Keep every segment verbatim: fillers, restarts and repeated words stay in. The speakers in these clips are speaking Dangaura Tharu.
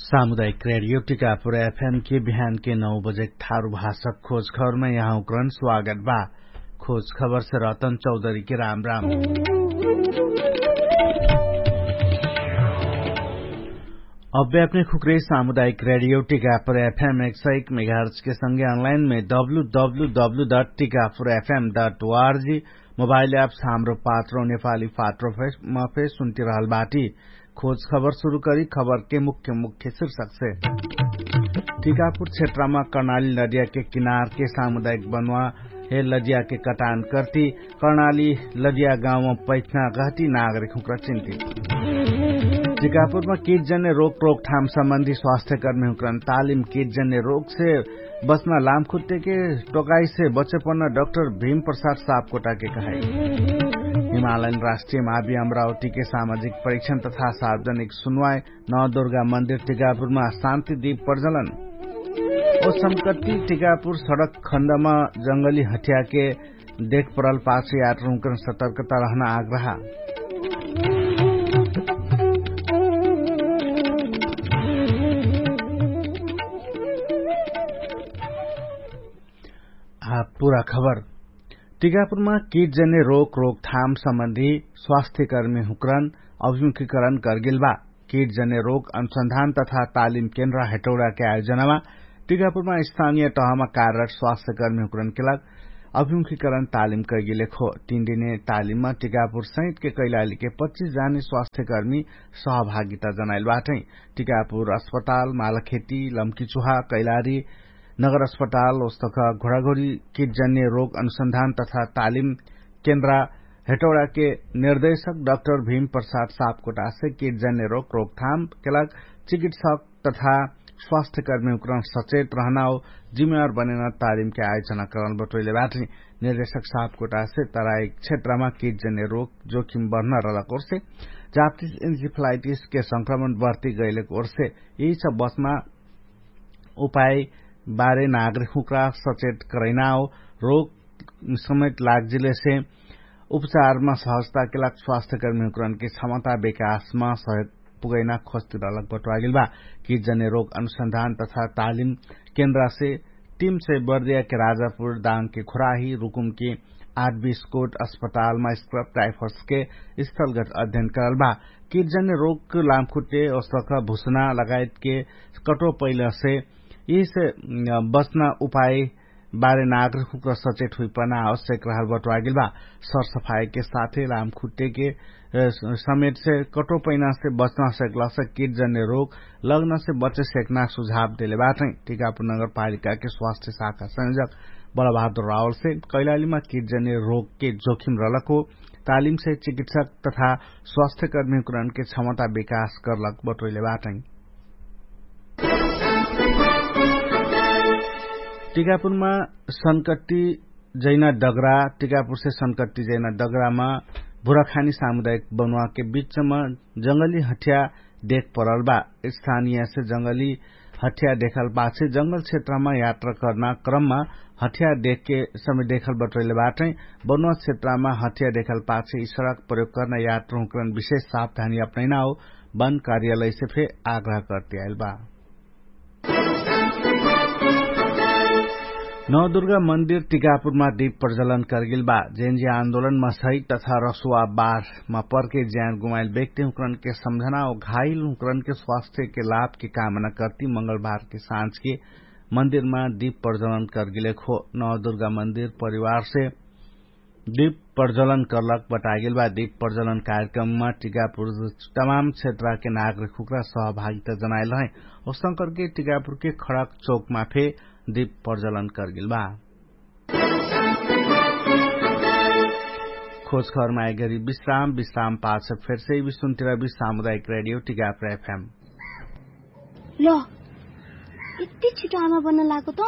सामुदायिक रेडियो टिकापुर एफएम के बिहान के नौ बजे थारु भाषक खोज खबरमा यहाँ उक्रन स्वागत बा। खोज खबर से रतन चौधरी के राम राम। अब्बे अपने खुक्रे सामुदायिक रेडियो टिकापुर एफएम एक सय एक मेगाहर्च के संगे अनलाइन में W W W dot Tikapur FM dot O R G mobile apps Hamro Patro Nepali Patro फेसमा फेस सुन्ति रहल बाटी। खोज खबर सुरु करी खबर के मुख्य मुख्य शिर्षक से। टिकापुर क्षेत्रमा कर्णाली लडिया के किनार के सामुदायिक बनुवा हे लडिया के कटान कर्ति कर्णाली लडिया गाउँ पैठना गहटी नागरिक हुँक्रा चिन्ति। टिकापुरमा किट जन्य रोक रोकथाम सम्बन्धी स्वास्थ्यकर्मी हुँक्रन तालिम किट जन्य रोक से बच्ना लामखुट्टेके टोकाइसे बच्चेपन्न डक्टर भीम प्रसाद सापकोटाके कहाइ। हिमालयन राष्ट्रिय मावी अम्रावटीके सामाजिक परिक्षण तथा सार्वजनिक सुनवाइ नवदुर्गा मन्दिर टिकापुरमा शान्ति दीप प्रजलन। ओ सम्कट्टी टिकापुर सडक खण्डमा जङ्गली हठ्याके देख परल पाछ यात्रुहुँकन सतर्कता रहना आग्रह। आ पुरा खबर। टिकापुरमा किट जन्य रोक रोकथाम सम्बन्धी स्वास्थ्यकर्मी हुँकरन अभिमुखीकरण करगेल बा। किट जन्य रोक अनुसन्धान तथा तालिम केन्द्र हेटौडाके आयोजनामा टिकापुरमा स्थानिय टहमा कार्यरट स्वास्थ्यकर्मी हुँकरनके लाग अभिमुखीकरण तालिम कैगेलेखो। तीन दिने तालिममा टिकापुर सहितके कैलालीके पच्चिस जाने स्वास्थ्यकर्मी सहभागिता जनाइल बाटै। टिकापुर अस्पताल मालखेती लम्कीचुहा कैलारी नगर अस्पताल ओस्तक घोडाघोडी किट जन्य रोग अनुसन्धान तथा तालिम केन्द्रा हेटौडाके निर्देशक डक्टर भीम प्रसाद सापकोटासे किट जन्य रोग रोकथाम केलाग चिकित्सक तथा स्वास्थ्यकर्मी हुँकरन सचेत रहनाओ जिम्मेवार बनेना तालिमके आयोजना करल बटोइले बाटै। निर्देशक सापकोटासे तराई क्षेत्रमा किट जन्य रोग जोखिम बढ्न रहलक ओर्से जाप्तिस इन्सिफलाइटिसके संक्रमण बढ्ति गैलेक ओर्से यही सब बच्ना उपाय बारे नागरिक हुँक्रा सचेत करैना हो। रोग समेत लाग्जिलेसे उपचारमा सहजताके लाग स्वास्थ्यकर्मी हुँक्रनके क्षमता विकासमा सहयोग पुगैना खोजति रहलक बटोआगेल बा। किट जन्य रोग अनुसन्धान तथा तालिम केन्द्रासे टिमसे बर्दियाके राजापुर दाङके खुराही रुकुमके आठ बिस्कोट अस्पतालमा स्क्रब टाइफसके स्थलगत अध्ययन करल बा। किट जन्य रोग लामखुट्टे ओस्तक भुसना लगायतके कटो पैलसे यिसे बच्ना उपाय बारे नागरिक हुँक्रा सचेत हुइपना आवश्यक रहल बटोआगेल बा। सरसफाइके साथे लामखुट्टेके समेटसे कटो पैनासे बच्ना सकलासे किट जन्य रोग लग्नसे बच्चे सेक्ना सुझाव देले बाटै। टिकापुर नगरपालिकाके स्वास्थ्य शाखा संयोजक बलबहादुर रावलसे कैलालीमा किट जन्य रोगके जोखिम रहलक हो तालिमसे चिकित्सक तथा स्वास्थ्यकर्मी हुँकरनके क्षमता विकास करलक बटोइले बाटै। टिकापुरमा सनकट्टी जैना डगरा टिकापुरसे सनकट्टी जैना डगरामा भुराखानी सामुदायिक बनुवाके बिचमा जङ्गली हठ्या देख परल बा। स्थानियसे जङ्गली हठ्या देखल पाछे जङ्गल क्षेत्रमा यात्रा कर्ना क्रममा हठ्या देखके समय देखल बटोइले बाटै। बनुवा क्षेत्रमा हठ्या देखल पाछे यि सडक प्रयोग कर्ना यात्रा हुँकरन विशेष सावधानी अपनैना हो वन कार्यालयसे फे आग्रह कर्ति आइल बा। नवदुर्गा मन्दिर टिकापुरमा दीप प्रजलन करगेल बा। जेनजी आन्दोलनमा सहित तथा रसुवा बार मा पर्के ज्यान गुमाइल व्यक्ति हुँकरनके सम्झना हो घाइल हुँकरनके स्वास्थ्यके लाभके कामना कर्ति मङ्गलबारके साँझके मन्दिरमा दीप प्रजलन करगेलेक हो। नवदुर्गा मन्दिर परिवारसे दीप प्रजलन करलक बटागेल बा। दीप प्रजलन कार्यक्रममा टिकापुर तमाम क्षेत्रके नागरिक हुँक्रा सहभागिता जनाइल है। ओसंकरके टिकापुरके खडक चौकमा फे दीप प्रजलन करगेल बा। खोज खबरमा आइगरी विश्राम विश्राम पाछ फेरसे विश्वन्तिरा विश्राम उदायक रेडियो टिकापुर एफएम। ल, यति छिटो आमा बन्न लागेको त?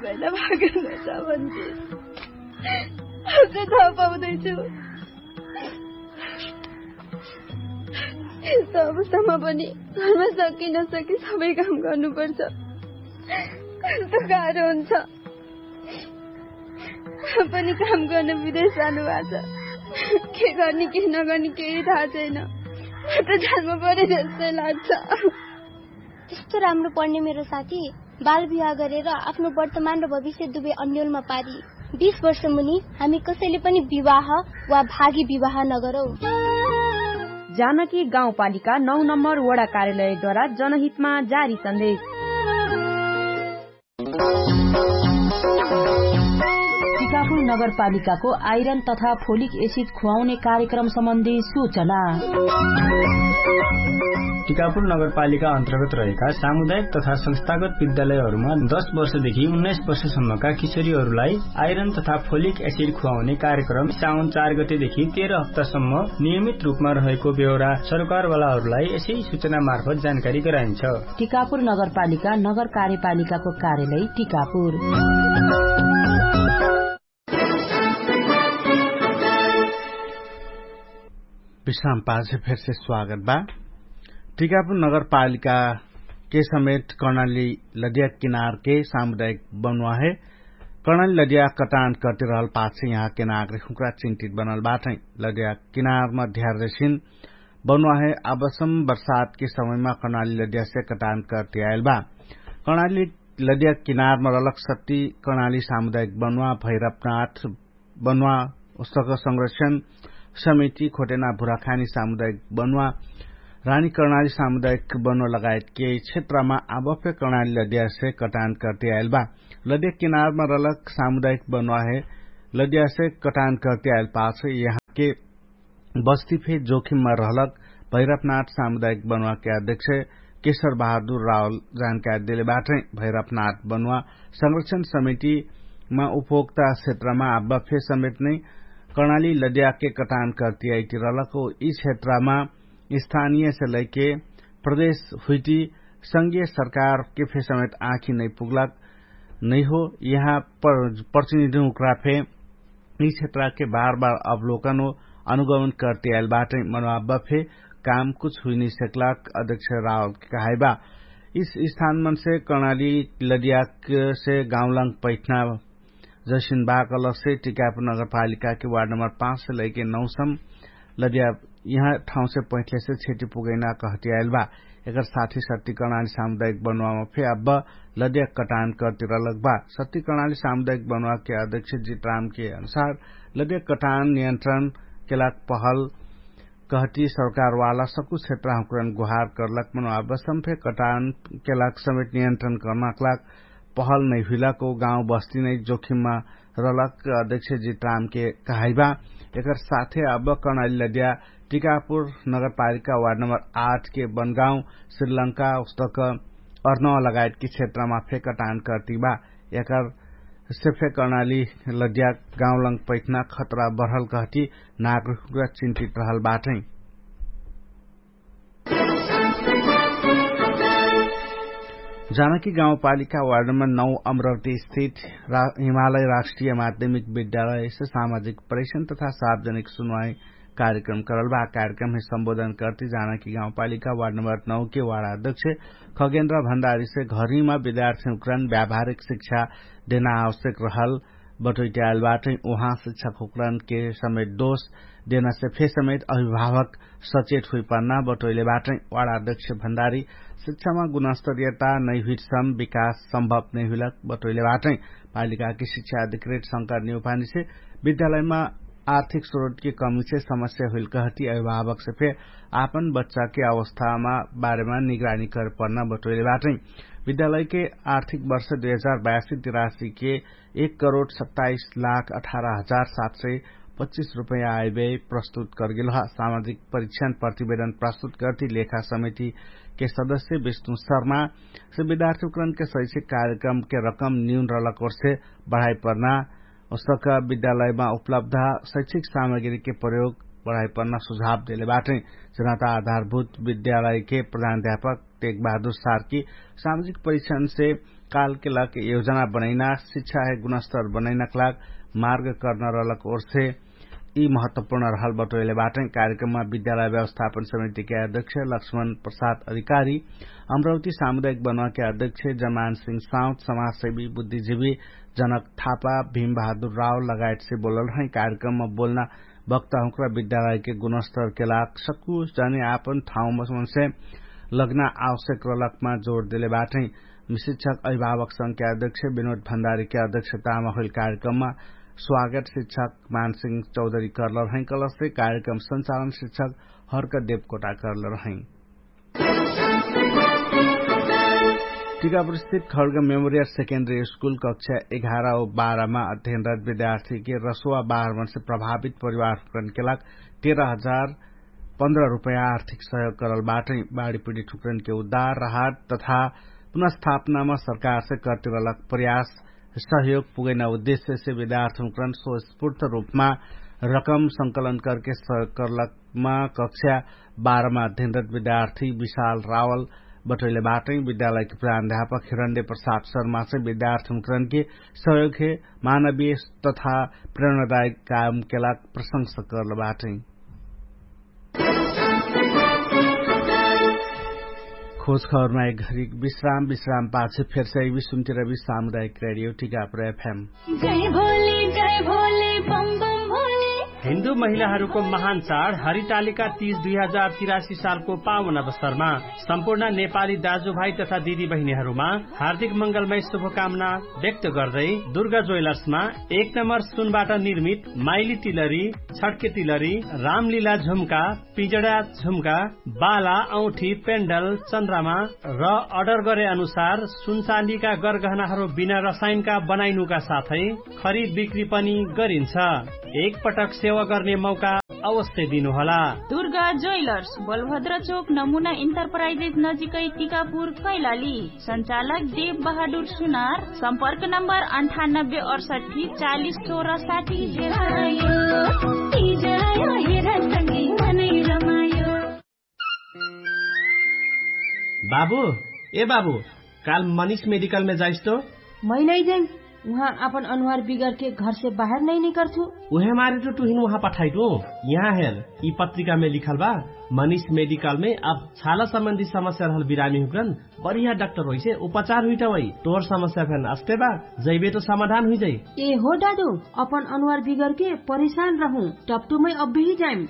पहिला भागेर जान्छ भन्थे। अझै थाहा पाउँदैछु। यस्तो अवस्थामा पनि घरमा सके नसके सबै काम गर्नुपर्छ। कस्तो गाह्रो हुन्छ। पनि काम गर्न विदेश जानुभएको छ। के गर्ने के नगर्ने केही थाहा छैन। त जानमा परे जस्तै लाग्छ। त्यस्तो राम्रो पढ्ने मेरो साथी बाल विवाह गरेर आफ्नो वर्तमान र भविष्य दुवै अन्यलमा पारी। बीस वर्ष मुनि हामी कसैले पनि विवाह वा भागी विवाह नगरौ। जानकी गाउँपालिका नौ नम्बर वडा कार्यालयद्वारा जनहितमा जारी सन्देश। टिकापुर नगरपालिकाको आइरन तथा फोलिक एसिड खुवाउने कार्यक्रम सम्बन्धी सूचना। टिकापुर नगरपालिका अन्तर्गत रहेका सामुदायिक तथा संस्थागत विद्यालयहरूमा दस वर्षदेखि उन्नाइस वर्षसम्मका किशोरीहरूलाई आइरन तथा फोलिक एसिड खुवाउने कार्यक्रम साउन चार गतेदेखि तेह्र हप्तासम्म नियमित रूपमा रहेको बेहोरा सरकारवालाहरूलाई यसै सूचना मार्फत जानकारी गराइन्छ। टिकापुर नगरपालिका नगर कार्यपालिकाको कार्यालय टिकापुर। विश्राम पाछे फेरसे स्वागत बा। टिकापुर नगरपालिका के समेत कर्णाली लदिया किनार के सामुदायिक बनुवा है। कर्णाली लदिया कटान करते रहल पाछे यहाँ के नागरिक हुक्रा चिन्तित बनल बाटै। लदिया किनार मा ध्यार जैसिन बनुवा है। आबसम बर्सात के समय मा कर्णाली लदिया से कटान करते आयल बा। कर्णाली लदिया किनार मा रलक सत्ती कर्णाली सामुदायिक बनुवा भैरपनाथ बनुवा उस्तक संरक्षण समिति खोटेना भुराखानी सामुदायिक बनुवा रानी कर्णाली सामुदायिक बनुवा लगायत के क्षेत्रमा आबफे कर्णाली लदिया से कटान करते आयल बा। लदिया किनार मा रलक सामुदायिक बनुवा है। लदिया से कटान करते आयल पाछ यहाँ के बस्ती फे जोखिममा रहलक भैरपनाथ सामुदायिक बनुवा के अध्यक्ष केशर बहादुर रावल जानकारी देले बाटै। भैरपनाथ बनुवा संरक्षण समितिमा उपभोक्ता क्षेत्रमा आब्बा फे समेत नै कर्णाली लदिया के कटान करती आइती रहलक हो। यी क्षेत्रमा स्थानीय से लैके प्रदेश हुइटी संघीय सरकार के फे समेत आँखी नै पुग्लक नै हो। यहाँ प्रतिनिधि उक्रा फे यी क्षेत्रके बार बार अवलोकन हो अनुगमन करते आयल बाटै। मनोभाव बफे काम कुछ हुइनै सेकलाक अध्यक्ष रावल के कहाइबा। यी स्थान मनसे कर्णाली लदियाक से गाउँलङ पैठना जैसिन बाकलक से टिकापुर नगरपालिका के वार्ड नम्बर पाँच से लैके नौ सम लदिया यहाँ ठाउँ से पैठले से छेटी पुगैना कहती आयल बा। एकर साथी सत्ती कर्णाली सामुदायिक बनुवामा फे अब्बा लदिया कटान करती रहलक बा। सत्ती कर्णाली सामुदायिक बनुवा के अध्यक्ष जितराम के अनुसार लदिया कटान नियन्त्रण केलाक पहल कहती सरकारवाला सकु क्षेत्र हुक्रन गुहार करलक। मनोभाव बसम फे कटान केलाक समेत नियन्त्रण कर्नाकलाक पहल नै हुइलक हो गाउँ बस्ती नै जोखिममा रलक अध्यक्ष जितराम के कहाइबा। एकर साथे अब कर्णाली लदिया टिकापुर नगरपालिका वार्ड नम्बर आठ के बनगाउँ श्रीलंका उस्तक अर्नवा लगायत कि क्षेत्रमा फे कटान करती बा। एकर से फे कर्णाली लदिया गाउँलङ पैठना खतरा बढल कहती नागरिक चिन्तित रहल बाटै। जानकी गाउँपालिका वार्ड नम्बर नौ अमरावती स्थित हिमालय राष्ट्रिय माध्यमिक विद्यालय से सामाजिक परीक्षण तथा सार्वजनिक सुनवाई कार्यक्रम करल बा। कार्यक्रम है सम्बोधन करती जानकी गाउँपालिका वार्ड नम्बर नौ के वार्ड अध्यक्ष खगेन्द्र भण्डारी से घरहीमा विद्यार्थी उक्रान व्यावहारिक शिक्षा देना आवश्यक रहल बटोइट्याएल बाटै। उहाँ शिक्षक हुक्रन के समेत दोष देना से फे समेत अभिभावक सचेत हुइपन्ना बटोइले बाटै। वार्ड अध्यक्ष भण्डारी शिक्षामा गुणस्तरीयता नै हुइटसम विकास सम्भव नै हुइलक बटोइले बाटै। पालिका के शिक्षा अधिकृत शंकर निउपानी से विद्यालयमा आर्थिक स्रोत के कमी से समस्या हुइल कहती अभिभावक से फे आपन बच्चा के अवस्थामा बारेमा निगरानी करपन्ना बटोइले बाटै। विद्यालय के आर्थिक वर्ष दुई हजार बयासी तिरासी के एक करोड सत्ताइस लाख अठारह हजार सात सय पच्चिस रुपैया आइबे प्रस्तुत करगेल ह। सामाजिक परीक्षण प्रतिवेदन प्रस्तुत करती लेखा समिति के सदस्य विष्णु शर्मा से विद्यार्थी उक्रान के शैक्षिक कार्यक्रम के रकम न्यून रलक ओर से बढाइ पर्ना उसका विद्यालयमा उपलब्ध शैक्षिक सामग्री के प्रयोग बढाइ पर्ना सुझाव देले बाटै। जनता आधारभूत विद्यालय के प्रधान अध्यापक तेग बहादुर सार्की सामाजिक परीक्षण से काल के लाग योजना बनैना शिक्षा है गुणस्तर बनैना के लाग मार्ग कर्न रहलक ओर से यी महत्वपूर्ण रहल बटोइले बाटै। कार्यक्रममा विद्यालय व्यवस्थापन समिति के अध्यक्ष लक्ष्मण प्रसाद अधिकारी अमरावती सामुदायिक बनुवा के अध्यक्ष जमान सिंह साउत समाजसेवी बुद्धिजीवी जनक थापा भीम बहादुर राव लगायत से बोलल है। कार्यक्रममा बोलना बक्ता हुँक्रा विद्यालयके गुणस्तरके लाग सक्कु जने आपन ठाउँमा मनसे लग्ना आवश्यक रलकमा जोड देले बाटै। शिक्षक अभिभावक संख्या अध्यक्ष विनोद भण्डारीके अध्यक्षतामा होइल कार्यक्रममा स्वागत शिक्षक मानसिंह चौधरी कर्ल रहै कलसे कार्यक्रम संचालन शिक्षक हर्क देवकोटा कर्ल रहै। टिकापुरस्थित खड्ग मेमोरियल सेकेन्डरी स्कुल कक्षा एघार औ बाह्रमा अध्ययनरत विद्यार्थीके रसुवा बाह्र मनसे प्रभावित परिवार हुँकरनके लाग तेह्र हजार पन्ध्र रुपैयाँ आर्थिक सहयोग करल बाटै। बाढीपिडी ठुँकरनके उद्धार राहत तथा पुनर्स्थापनामा सरकारसे कर्तिरलक प्रयास सहयोग पुगैना उद्देश्यसे विद्यार्थी हुँकरन स्वस्फूर्त रुपमा रकम संकलन करके सहयोग करलकमा कक्षा बाह्रमा अध्ययनरत विद्यार्थी विशाल रावल बटोइले बाटै। विद्यालयके प्राध्यापक हिरण्डे प्रसाद शर्मासे विद्यार्थी हुँकरनके सहयोगहे मानवीय तथा प्रेरणादायक कामके लाग प्रशंसा कर्ल बाटै। खोज खबरमा एक घरी विश्राम विश्राम पाछे फेरसे विश्वमतिर विश्राम दायक रेडियो टिकापुर एफएम। जय भोले जय भोले बम बम भोले। हिन्दू महिलाहरूको महान चाड हरितालिका तीज दुई हजार तिरासी सालको पावन अवसरमा सम्पूर्ण नेपाली दाजुभाइ तथा दिदी बहिनीहरूमा हार्दिक मंगलमय शुभकामना व्यक्त गर्दै दुर्गा ज्वेलर्समा एक नम्बर सुनबाट निर्मित माइली तिलरी, छड्के तिलरी, रामलीला झुम्का, पिजडा झुम्का, बाला औठी पेन्डल चन्द्रमा र अर्डर गरे अनुसार सुनचाँदीका गरगहनाहरू बिना रसायनका बनाइनुका साथै खरिद बिक्री पनि गरिन्छ। एकपटक सेवा गर्ने मौका अवश्य दिनुहोला। दुर्गा ज्वेलर्स, बलभद्र चोक, नमुना इन्टरप्राइजेस नजिकै टिकापुर कैलाली। सञ्चालक देव बहादुर सुनार। सम्पर्क नम्बर अन्ठानब्बे अडसट्ठी चालिस सोह्र साठी। बाबु, ए बाबु, काल मनिष मेडिकलमे जाइस्तो। मै नै जाइम। उहाँ आपन अनुहार बिगरके घरसे बाहेर नै निकर्छु। उहे मारे टु टुहिन उहाँ पठाइटु। यहाँ हेर, यि पत्रिकामे लिखल बा। मनिष मेडिकलमे अब छाला सम्बन्धी समस्या रहल बिरामी हुकरन बढिया डाक्टर होइसे उपचार हुइटवै। तोर समस्या फेन अस्ते बा, जैबे तो समाधान हुइजै। ए हो दादु, अपन अनुहार बिगरके परेशान रहु, टप्टुमै अब्बिही जाइम।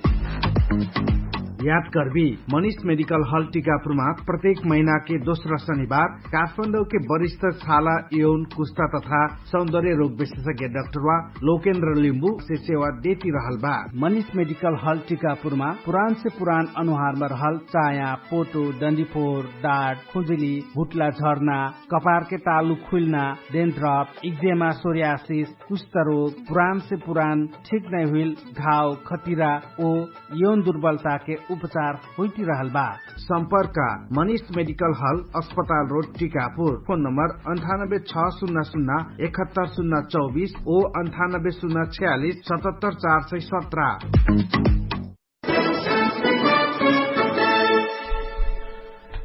याद कर्बी, मनिष मेडिकल हल टिकापुरमा प्रत्येक महिनाके दोस्रा शनिबार काठमाडौके वरिष्ठ छाला, यौन, कुस्ता तथा सौन्दर्य रोग विशेषज्ञ डाक्टरवा लोकेन्द्र लिम्बु से सेवा देती रहल बा। मनिष मेडिकल हल टिकापुरमा पुरान से पुरान अनुहारमा रहल चाया, पोटो, डन्डीफोर, डाट, खुजुली, भुट्ला झर्ना, कपारके तालु खुइल्ना, डेन्ड्रप, इक्जेमा, सोरियासिस, कुष्ठरोग, पुरान से पुरान ठिक नै हुइल घाव, खतिरा ओ यौन दुर्बलताके उपचार होइटिरहल बा। सम्पर्क, मनिष मेडिकल हल, अस्पताल रोड, टिकापुर। फोन नम्बर अन्ठानब्बे छ सुन्ना सुन्ना एकहत्तर सुन्ना चौबिस ओ अन्ठानब्बे सुन्ना छ्यालिस सतहत्तर चार सय सत्र।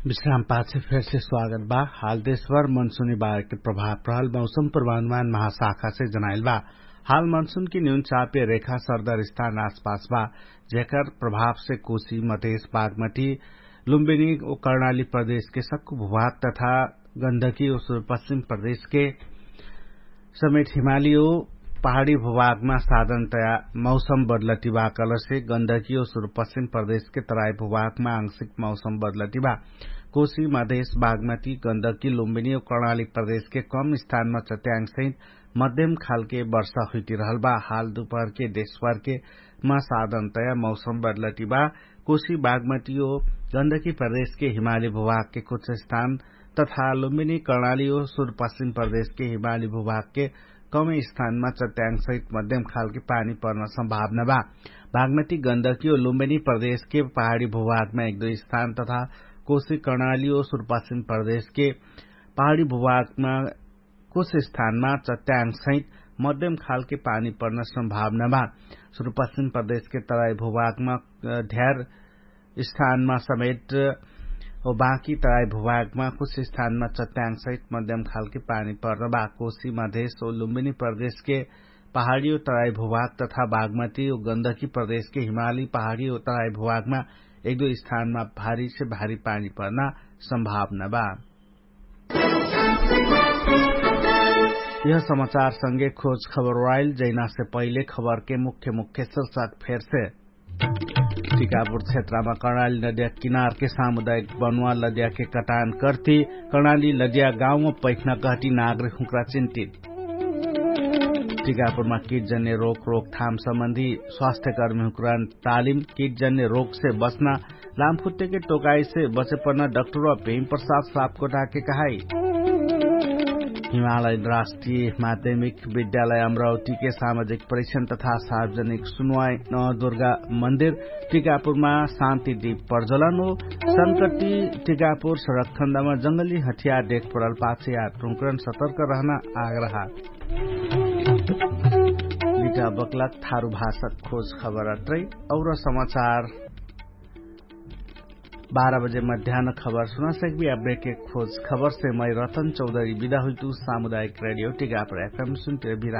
विश्राम पाछे फेरसे स्वागत बा। हाल देशभर मनसुनी बारके प्रभाव रहल मौसम प्रभानुमान महाशाखासे जनाइल बा। हाल मनसुनके न्यून चापे रेखा सरदर स्थान आसपास बा, जेकर प्रभावसे कोशी, मधेश, बागमटी, लुम्बिनी ओ कर्णाली प्रदेशके सक्कु भूभाग तथा गन्धकी ओ सुरुपश्चिम प्रदेशके समेत हिमाली ओ पहाडी भूभागमा साधनतया मौसम बदलटी बा। कलसे गन्धकी ओ सुरुपश्चिम प्रदेशके तराई भूभागमा आंशिक मौसम बदलटी बा। कोशी, मधेश, बागमटी, गन्धकी, लुम्बिनी ओ कर्णाली प्रदेशके कम स्थानमा चट्याङ्सहित मध्यम खालके वर्षा हुइटिरहल बा। हाल दुपहरके देशभरके मा साधनतया मौसम बदलटी बा। कोशी, बागमटी ओ गन्धकी प्रदेशके हिमाली भूभागके कुछ स्थान तथा लुम्बिनी कर्णाली ओ सुरुपश्चिम प्रदेशके हिमाली भूभागके कम स्थानमा चट्याङ्सहित मध्यम खालके पानी पर्न सम्भावना बा। बागमटी, गन्धकी ओ लुम्बिनी प्रदेशके पहाडी भूभागमा एक दुई स्थान तथा कोशी कर्णाली ओ सुरुपश्चिम प्रदेशके पहाडी भूभागमा कुछ स्थानमा चट्याङ्सहित मध्यम खालके पानी पर्न सम्भावना बा। सुरुपश्चिम प्रदेशके तराई भूभागमा ध्यार स्थानमा समेत ओ बाँकी तराई भूभागमा कुछ स्थानमा चट्याङ्सहित मध्यम खालके पानी पर्न बा। कोशी, मधेश ओ लुम्बिनी प्रदेशके पहाडी ओ तराई भूभाग तथा बागमटी ओ गन्धकी प्रदेशके हिमाली पहाडी ओ तराई भूभागमा एक दुई स्थानमा भारीसे भारी पानी पर्न सम्भावना बा। यह समाचार संगे खोज खबर वाइल जैनासे पहिले खबरके मुख्य मुख्य शीर्षक फेरसे। टिकापुर क्षेत्रमा कर्णाली नदिया किनारके सामुदायिक बनुवा लदियाके कटान कर्ति। कर्णाली लदिया गाउँमा पैख्ना कहति नागरिक हुँक्रा चिन्तित। टिकापुरमा किटजन्य रोक रोकथाम सम्बन्धी स्वास्थ्यकर्मी हुँक्रा तालिम किटजन्य रोकसे बच्ना लामखुट्टेके टोकाइसे बचेपन डक्टर वा भेम प्रसाद सापकोटाके कहाई। हिमालय राष्ट्रिय माध्यमिक विद्यालय अम्रावतीके सामाजिक परिक्षण तथा सार्वजनिक सुनवाई नवदुर्गा मन्दिर टिकापुरमा शान्ति दीप प्रज्वलन हो। संकटी टिकापुर सडक खण्डमा जंगली हथियार देख पडल पाछे यार टुङ्करण सतर्क रहना आग्रह। लिटा बक्लक थारु भाषक खोज खबर अत्रै। और समाचार बाह्र बजे मध्यान खबर सुना सकबी अब्बेके खोज खबरसे मै रतन चौधरी बिदा हुइतु। सामुदायिक रेडियो टिकापुर एफएम सुन्ते बिरा।